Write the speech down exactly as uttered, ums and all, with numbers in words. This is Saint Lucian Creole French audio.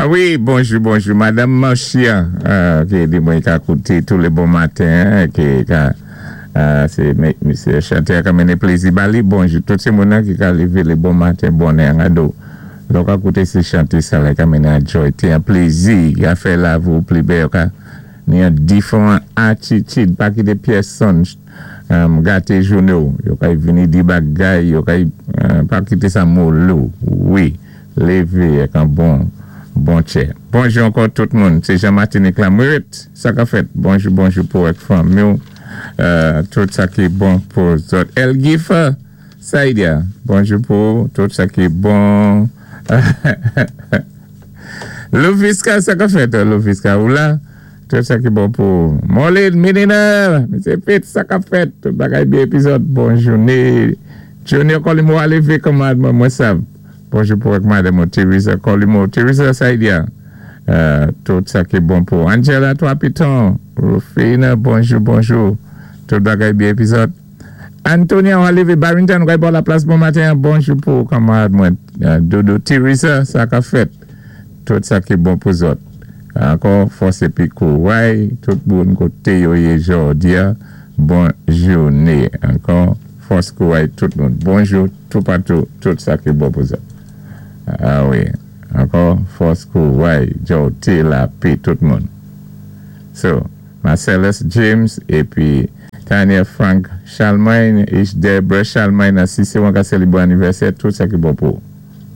Ah wi, bonjou, bonjou, Madanm Marcia, euh, ki di mwen ka kouté tou lé bon maten, ki ka, euh, sé misyé chanté ka mennen plézi ba li, bonjou, tout sé moun ki ka lévé lé bon maten, bonnè, an do. Lò ka kouté sé chanté sa la ka mennen an joy, té an plézi, ka fè lavi-w pli bèl, ka ni an diféwan atitid, pa kité pèsonn um, gaté jounen-w, yo kay vini di bagay, yo kay, euh, pa kité sa mole-w, wi, lévé ak an bon, bon tchè. Bonjou ankò tout moun, sé Jean Martinique la Mourit, sa ka fèt. Bonjou, bonjou pou ak fanmi, euh, tout sa ki bon pou zòt. El Gifa, Saïdia, bonjou pou tout sa ki bon. Louviska, sa ka fèt, Louviska, ou la? Tout sa ki bon pou Molin, Minina, Misye Fitz, sa ka fèt, tout bagay byen épi zòt, bon jouné. Junior Colimo, alévé kanmad mwen, mwen sav. Bonjou pou ak madanm Teresa Colimo, Teresa Saïdia. Euh, tout sa ki bon pou Angela Trois Pitons, Rufina, bonjou, bonjou. Tout bagay byen épi zòt. Antonia, ou alévé Barrington, ou bò la plas bon maten, bonjou pou kanmad mwen. Euh, Dodo Teresa, sa ka fèt. Tout sa ki bon pou zòt. Ankò, fòs épi kouray, tout moun koté yo yé jòdi a, bon jouné. Ankò, fòs kouray tout moun. Bonjou, tout patou, tout sa ki bon pou zòt. Ah wi, ankò, fòs kouray, jòti lapè, tout moun. So, Marcellus James, épi Tania Frank Charlemagne, Debra Charlemagne, si sé wan ka sélébré anivèsè, tout sa ki bon pou.